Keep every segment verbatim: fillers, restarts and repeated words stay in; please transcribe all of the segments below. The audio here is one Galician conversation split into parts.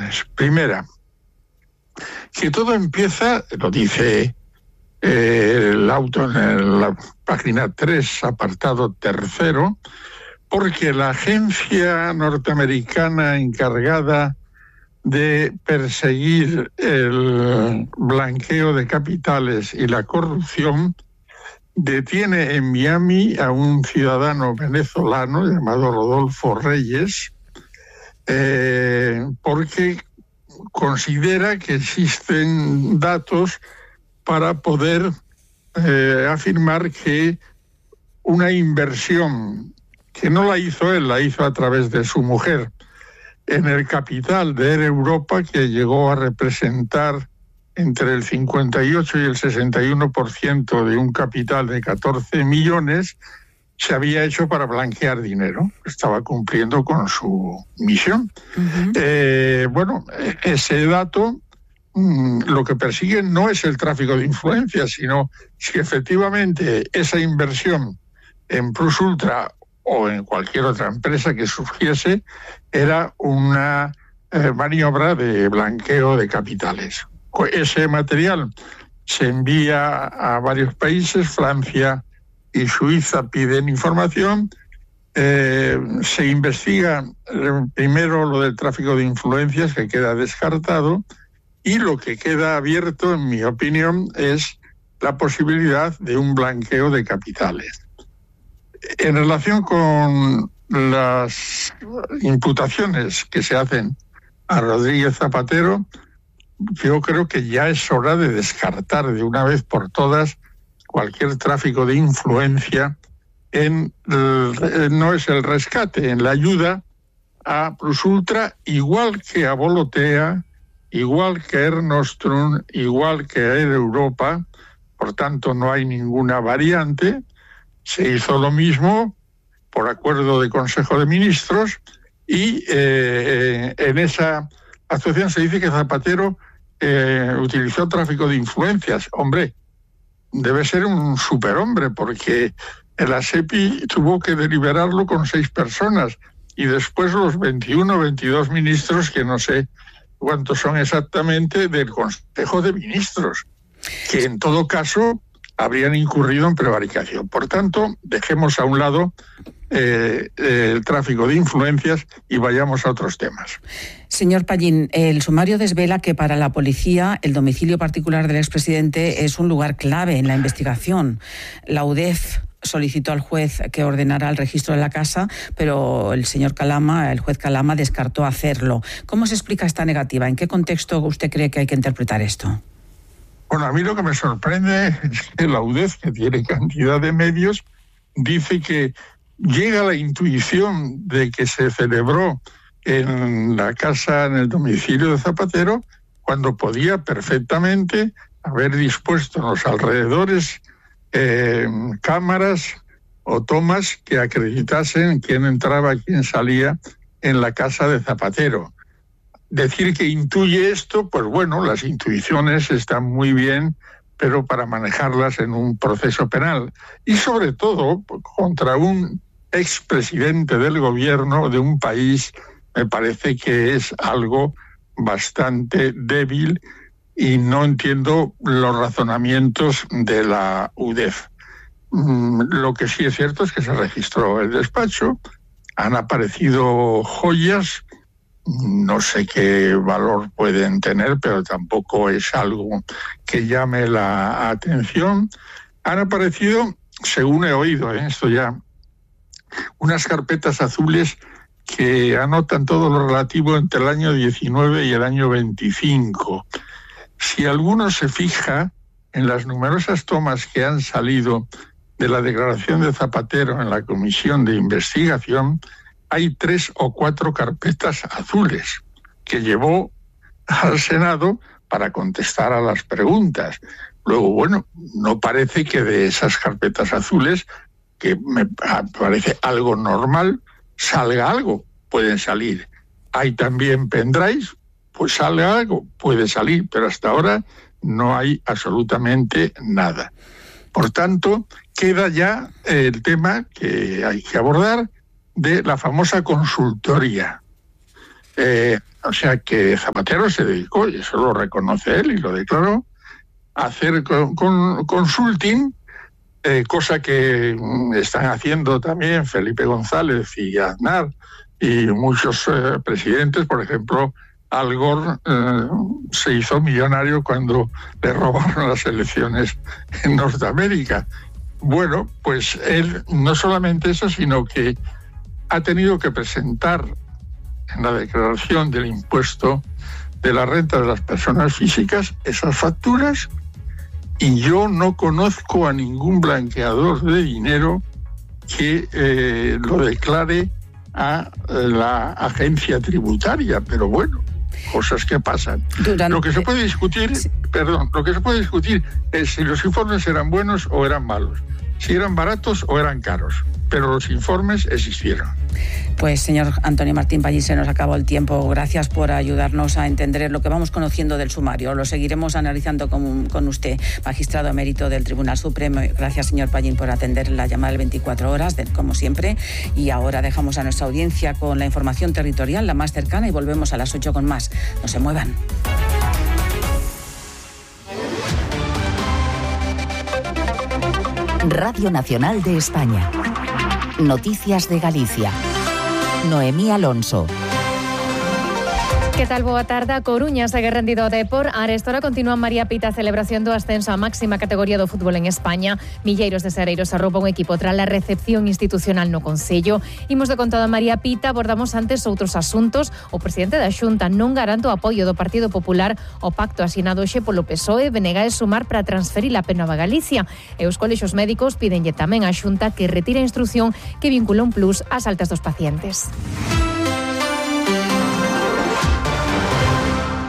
cuestiones. Primera, que todo empieza, lo dice eh, el auto en la página tres, apartado tercero, porque la agencia norteamericana encargada de perseguir el blanqueo de capitales y la corrupción detiene en Miami a un ciudadano venezolano llamado Rodolfo Reyes, eh, porque considera que existen datos para poder eh, afirmar que una inversión que no la hizo él, la hizo a través de su mujer, en el capital de Air Europa, que llegó a representar entre el cincuenta y ocho y el sesenta y uno por ciento de un capital de catorce millones, se había hecho para blanquear dinero. Estaba cumpliendo con su misión. Uh-huh. Eh, bueno, ese dato mmm, lo que persigue no es el tráfico de influencias, sino si efectivamente esa inversión en Plus Ultra o en cualquier otra empresa que surgiese era una eh, maniobra de blanqueo de capitales. Ese material se envía a varios países, Francia y Suiza piden información, eh, se investiga primero lo del tráfico de influencias, que queda descartado, y lo que queda abierto, en mi opinión, es la posibilidad de un blanqueo de capitales. En relación con las imputaciones que se hacen a Rodríguez Zapatero, yo creo que ya es hora de descartar de una vez por todas cualquier tráfico de influencia en el, no es el rescate, en la ayuda a Plus Ultra, igual que a Volotea, igual que a Air Nostrum, igual que a Air Europa. Por tanto, no hay ninguna variante. Se hizo lo mismo por acuerdo de Consejo de Ministros y eh, en esa actuación se dice que Zapatero eh, utilizó tráfico de influencias. Hombre, debe ser un superhombre porque la SEPI tuvo que deliberarlo con seis personas y después los veintiuno, veintidós ministros, que no sé cuántos son exactamente, del Consejo de Ministros, que en todo caso habrían incurrido en prevaricación. Por tanto, dejemos a un lado eh, el tráfico de influencias y vayamos a otros temas. Señor Pallín, el sumario desvela que para la policía el domicilio particular del expresidente es un lugar clave en la investigación. La U D E F solicitó al juez que ordenara el registro de la casa, pero el señor Calama, el juez Calama, descartó hacerlo. ¿Cómo se explica esta negativa? ¿En qué contexto usted cree que hay que interpretar esto? Bueno, a mí lo que me sorprende es que la U D E F, que tiene cantidad de medios, dice que llega la intuición de que se celebró en la casa, en el domicilio de Zapatero, cuando podía perfectamente haber dispuesto en los alrededores eh, cámaras o tomas que acreditasen quién entraba y quién salía en la casa de Zapatero. Decir que intuye esto, pues bueno, las intuiciones están muy bien, pero para manejarlas en un proceso penal. Y sobre todo contra un expresidente del gobierno de un país, me parece que es algo bastante débil y no entiendo los razonamientos de la U D E F. Lo que sí es cierto es que se registró el despacho, han aparecido joyas. No sé qué valor pueden tener, pero tampoco es algo que llame la atención. Han aparecido, según he oído, ¿eh? esto ya, unas carpetas azules que anotan todo lo relativo entre el año diecinueve y el año veinticinco. Si alguno se fija en las numerosas tomas que han salido de la declaración de Zapatero en la comisión de investigación, hay tres o cuatro carpetas azules que llevó al Senado para contestar a las preguntas. Luego, bueno, no parece que de esas carpetas azules, que me parece algo normal, salga algo. Pueden salir. Hay también pendrives, pues salga algo, puede salir, pero hasta ahora no hay absolutamente nada. Por tanto, queda ya el tema que hay que abordar de la famosa consultoría. Eh, O sea que Zapatero se dedicó, y eso lo reconoce él y lo declaró, a hacer con, con, consulting, eh, cosa que están haciendo también Felipe González y Aznar y muchos eh, presidentes. Por ejemplo, Al Gore eh, se hizo millonario cuando le robaron las elecciones en Norteamérica. Bueno, pues él no solamente eso, sino que ha tenido que presentar en la declaración del impuesto de la renta de las personas físicas esas facturas, y yo no conozco a ningún blanqueador de dinero que eh, lo declare a la agencia tributaria, pero bueno, cosas que pasan. Durante... Lo que se puede discutir, sí. perdón, lo que se puede discutir es si los informes eran buenos o eran malos, si eran baratos o eran caros, pero los informes existieron. Pues señor Antonio Martín Pallín, se nos acabó el tiempo. Gracias por ayudarnos a entender lo que vamos conociendo del sumario. Lo seguiremos analizando con, con usted, magistrado emérito del Tribunal Supremo. Gracias, señor Pallín, por atender la llamada del veinticuatro horas, de, como siempre. Y ahora dejamos a nuestra audiencia con la información territorial, la más cercana, y volvemos a las ocho con más. No se muevan. Radio Nacional de España. Noticias de Galicia. Noemí Alonso. Que tal? Boa tarde. A Coruña segue rendido o Depor. A arestora continúa María Pita a celebración do ascenso á máxima categoría do fútbol en España. Milleiros de sereiros arropa un equipo tras a recepción institucional no Concello. Imos de contado a María Pita, abordamos antes outros asuntos. O presidente da Xunta non garante o apoio do Partido Popular ao pacto asinado hoxe polo P S O E, Venega e Sumar para transferir a P Nova Galicia. E os colexios médicos pídenlle tamén á Xunta que retire a instrucción que vincula un plus ás altas dos pacientes.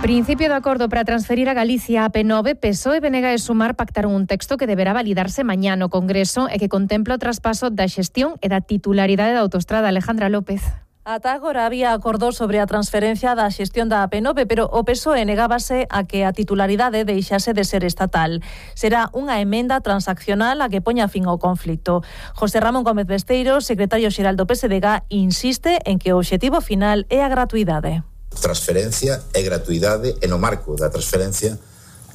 Principio de acordo para transferir a Galicia a P nove, P S O E, Venega e Sumar pactaron un texto que deberá validarse mañá no Congreso e que contempla o traspaso da xestión e da titularidade da autoestrada. Alejandra López. Ata agora había acordo sobre a transferencia da xestión da P nove, pero o P S O E negábase a que a titularidade deixase de ser estatal. Será unha emenda transaccional a que poña fin ao conflito. José Ramón Gómez Besteiro, secretario xeral do P S D G, insiste en que o obxectivo final é a gratuidade. Transferencia e gratuidade, e no marco da transferencia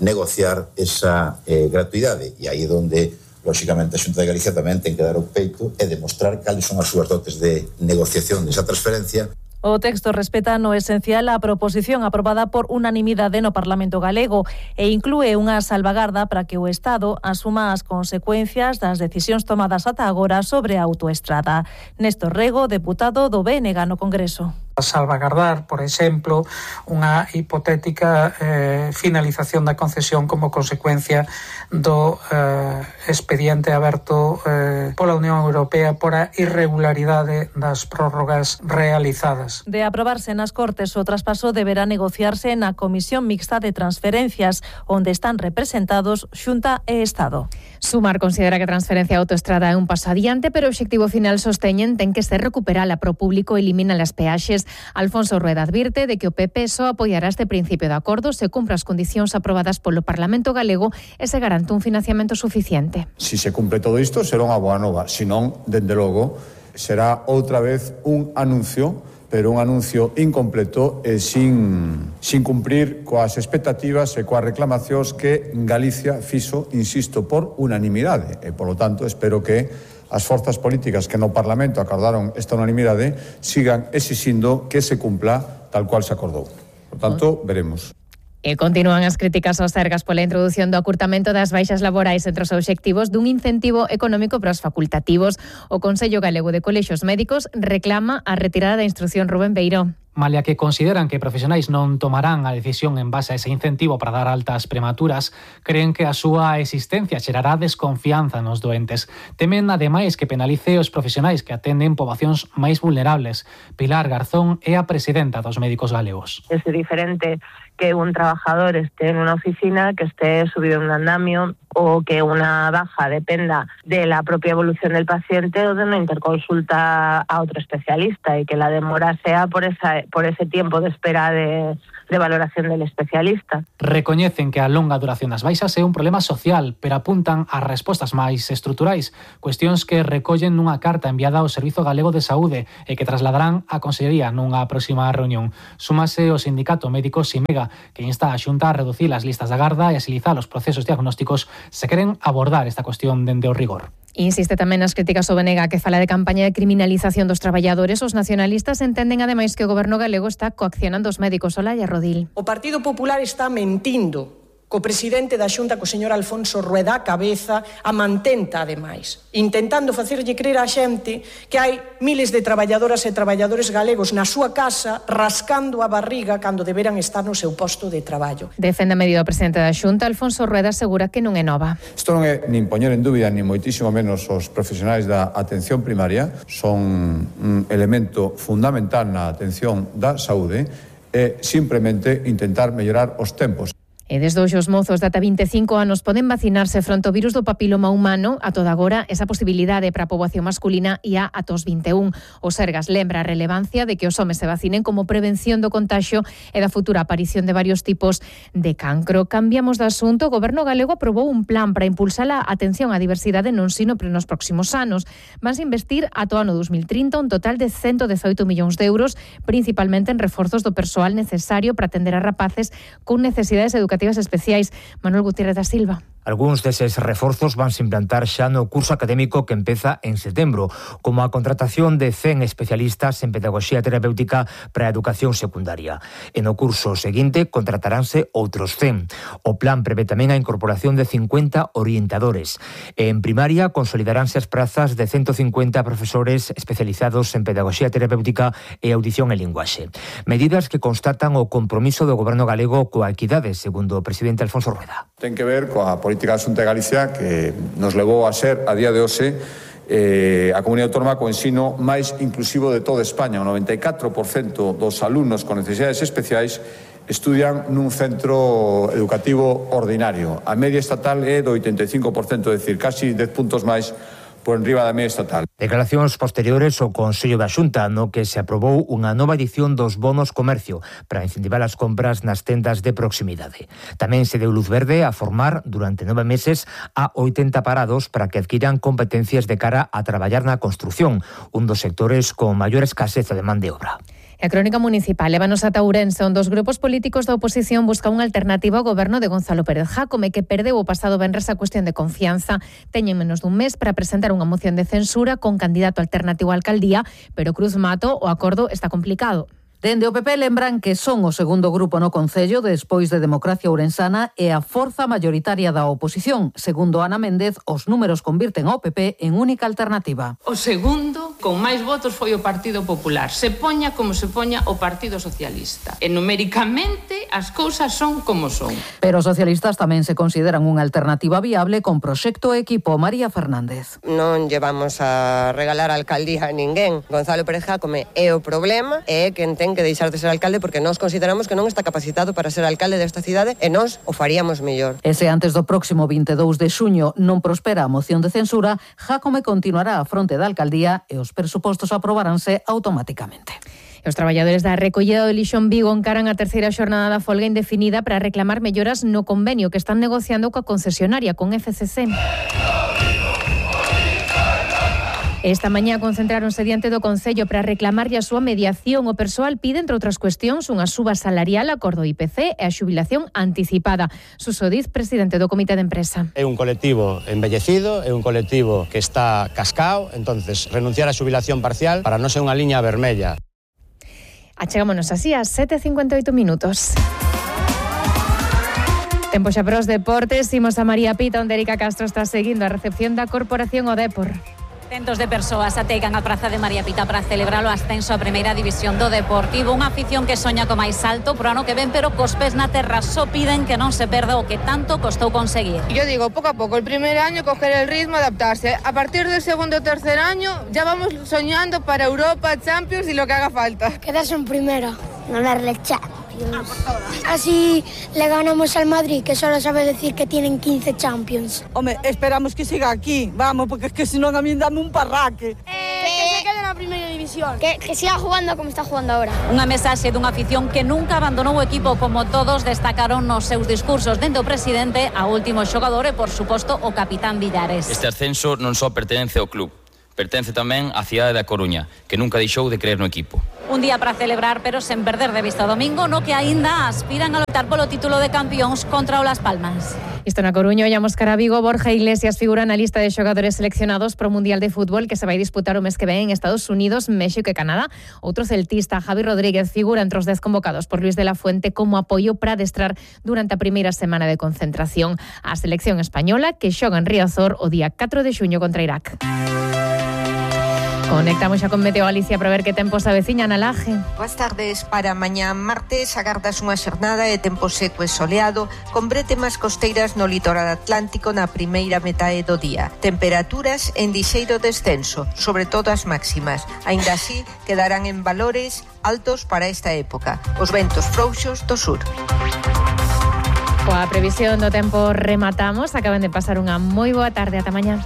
negociar esa eh, gratuidade, e aí é onde lóxicamente a Xunta de Galicia tamén ten que dar o peito e demostrar cales son as súas dotes de negociación desa transferencia. O texto respeta no esencial a proposición aprobada por unanimidade no Parlamento galego e inclúe unha salvagarda para que o Estado asuma as consecuencias das decisións tomadas ata agora sobre a autoestrada. Néstor Rego, deputado do B N G no Congreso. Salvagardar, por exemplo, unha hipotética eh, finalización da concesión como consecuencia do eh, expediente aberto eh, pola Unión Europea por a irregularidade das prórrogas realizadas. De aprobarse nas Cortes, o traspaso deberá negociarse na Comisión Mixta de Transferencias, onde están representados Xunta e Estado. Sumar considera que a transferencia a autoestrada é un paso adiante, pero o obxectivo final sosteñen ten que ser recuperala pro público e elimina as peaxes. Alfonso Rueda advirte de que o P P só apoiará este principio de acordo se cumpra as condicións aprobadas polo Parlamento galego e se garante un financiamento suficiente. Si se cumpre todo isto, será unha boa nova. Si non, dende logo, será outra vez un anuncio, pero un anuncio incompleto e sin, sin cumprir coas expectativas e coas reclamacións que Galicia fixo, insisto, por unanimidade. E, polo tanto, espero que as forzas políticas que no Parlamento acordaron esta unanimidade sigan exixindo que se cumpla tal cual se acordou. Por tanto, veremos. E continúan as críticas aos Sergas pola introdución do acurtamento das baixas laborais entre os obxectivos dun incentivo económico para os facultativos. O Consello Galego de Colexios Médicos reclama a retirada da instrucción. Rubén Beiró. Malia que consideran que profesionais non tomarán a decisión en base a ese incentivo para dar altas prematuras, creen que a súa existencia xerará desconfianza nos doentes. Temen, ademais, que penalice os profesionais que atenden poboacións máis vulnerables. Pilar Garzón é a presidenta dos médicos galegos. É diferente que un trabajador esté en unha oficina, que esté subido en un andamio, o que unha baja dependa de la propia evolución del paciente o de unha interconsulta a outro especialista, e que la demora sea por esa esa, por ese tiempo de espera de, de valoración del especialista. Recoñecen que a longa duración das baixas é un problema social, pero apuntan a respostas máis estruturais, cuestións que recollen nunha carta enviada ao Servizo Galego de Saúde e que trasladarán á Consellería nunha próxima reunión. Súmase o sindicato médico Simega, que insta a Xunta a reducir as listas de agarda e agilizar os procesos diagnósticos se queren abordar esta cuestión dende o rigor. Insiste tamén nas críticas ao B N G, que fala de campaña de criminalización dos traballadores. Os nacionalistas entenden ademais que o goberno galego está coaccionando os médicos. Olalla Rodil. O Partido Popular está mentindo co presidente da Xunta, co señor Alfonso Rueda, a cabeza, a mantenta, ademais, intentando facerlle crer á xente que hai miles de traballadoras e traballadores galegos na súa casa rascando a barriga cando deberan estar no seu posto de traballo. Defende a medida o presidente da Xunta. Alfonso Rueda asegura que non é nova. Isto non é nin poñer en dúbida, nin moitísimo menos os profesionais da atención primaria. Son un elemento fundamental na atención da saúde e simplemente intentar mellorar os tempos. E desde hoxe os mozos de ata vinte e cinco anos poden vacinarse fronte ao virus do papiloma humano. A toda agora, esa posibilidade para a poboación masculina ia ata os vinte e un. O Sergas lembra a relevancia de que os homes se vacinen como prevención do contagio e da futura aparición de varios tipos de cancro. Cambiamos de asunto. O Goberno galego aprobou un plan para impulsar a atención á diversidade no ensino para nos próximos anos. Vanse investir ata o ano dos mil trinta un total de ciento dezaoito millóns de euros, principalmente en reforzos do persoal necesario para atender a rapaces con necesidades educativas especiais. Manuel Gutiérrez da Silva. Algúns deses reforzos vanse implantar xa no curso académico que empeza en setembro, como a contratación de cen especialistas en pedagogía terapéutica para a educación secundaria. E no curso seguinte contrataránse outros cen. O plan prevé tamén a incorporación de cincuenta orientadores. E en primaria consolidaránse as prazas de ciento cincuenta profesores especializados en pedagogía terapéutica e audición e linguaxe. Medidas que constatan o compromiso do Goberno galego coa equidade, segundo o presidente Alfonso Rueda. Ten que ver coa política da Xunta de Galicia que nos levou a ser, a día de hoxe, eh, a comunidade autónoma co ensino máis inclusivo de toda España. O noventa e catro por cento dos alumnos con necesidades especiais estudian nun centro educativo ordinario. A media estatal é do oitenta e cinco por cento, é dicir, casi dez puntos máis por enriba da media estatal. Declaracións posteriores ao Consello da Xunta, no que se aprobou unha nova edición dos bonos comercio para incentivar as compras nas tendas de proximidade. Tamén se deu luz verde a formar durante nove meses a oitenta parados para que adquiran competencias de cara a traballar na construción, un dos sectores con maior escaseza de man de obra. A crónica municipal lévanos ata Ourense, onde os grupos políticos da oposición buscan unha alternativa ao goberno de Gonzalo Pérez Jácome, que perdeu o pasado venres a cuestión de confianza. Teñen menos dun mes para presentar unha moción de censura con candidato alternativo á alcaldía, pero Cruz Mato o acordo está complicado. Dende o P P lembran que son o segundo grupo no Concello despois de Democracia Ourensana e a forza maioritaria da oposición. Segundo Ana Méndez, os números convirten ao P P en única alternativa. O segundo, con máis votos, foi o Partido Popular. Se poña como se poña o Partido Socialista. E numéricamente as cousas son como son. Pero os socialistas tamén se consideran unha alternativa viable con proxecto e equipo. María Fernández. Non llevamos a regalar a alcaldía a ninguén. Gonzalo Pérez Jácome é o problema e que ten que deixar de ser alcalde porque nós consideramos que non está capacitado para ser alcalde desta cidade e nós o faríamos mellor. E se antes do próximo vinte e dous de xuño non prospera a moción de censura, Jácome continuará á fronte da alcaldía e os presupostos aprobaránse automáticamente. Os traballadores da recollida do lixo en Vigo encaran a terceira xornada da folga indefinida para reclamar melloras no convenio que están negociando coa concesionaria, con F C C. Esta mañá concentráronse diante do Concello para reclamarlle a súa mediación. O persoal pide, entre outras cuestións, unha suba salarial acordo I P C e a xubilación anticipada. Suso Diz, presidente do Comité de Empresa. É un colectivo embellecido, é un colectivo que está cascao, entonces renunciar á xubilación parcial para non ser unha liña vermella. Achegámonos así a sete e cincuenta e oito minutos. Tempo xa para os deportes, imos a María Pita, onde Erika Castro está seguindo a recepción da Corporación O Dépor. Centos de persoas ategan a praza de María Pita para celebrar o ascenso á primeira división do Deportivo. Unha afición que soña co máis alto pro ano que ven, pero cos pés na terra só piden que non se perda o que tanto costou conseguir. Yo digo, poco a poco, el primer año coger el ritmo, adaptarse. A partir del segundo o tercer año ya vamos soñando para Europa, Champions y lo que haga falta. Quedarse en primera, ganarle Champions. Así le ganamos al Madrid, que solo sabe decir que tienen quince Champions. Hombre, esperamos que siga aquí, vamos, porque es que si no a mí dame un parraque. Eh, que se quede en la primera división. ilusión, que, que siga jugando como está jugando ahora. Unha mensaxe dunha afición que nunca abandonou o equipo, como todos destacaron nos seus discursos, dende o presidente a último xogador e, por suposto, o capitán Villares. Este ascenso non só pertence ao club, pertence tamén á cidade da Coruña, que nunca deixou de creer no equipo. Un día para celebrar, pero sen perder de vista o domingo, no que aínda aspiran a lotar polo título de campións contra o Las Palmas. Isto na Coruña, ollamos cara a Vigo. Borja Iglesias figura na lista de xogadores seleccionados para o Mundial de Fútbol que se vai disputar o mes que ven en Estados Unidos, México e Canadá. Outro celtista, Javi Rodríguez, figura entre os dez convocados por Luis de la Fuente como apoio para adestrar durante a primeira semana de concentración a selección española que xoga en Riazor o día catro de xuño contra Irak. Conectamos xa con Meteo Galicia para ver que tempo se aveciña na Laje. Boas tardes. Para mañá martes agardas unha xornada de tempo seco e soleado con bretemas costeiras no litoral atlántico na primeira metade do día. Temperaturas en lixeiro descenso, sobre todo as máximas. Aínda así, quedarán en valores altos para esta época. Os ventos frouxos do sur. Coa previsión do tempo rematamos. Acaban de pasar unha moi boa tarde. Ata mañá.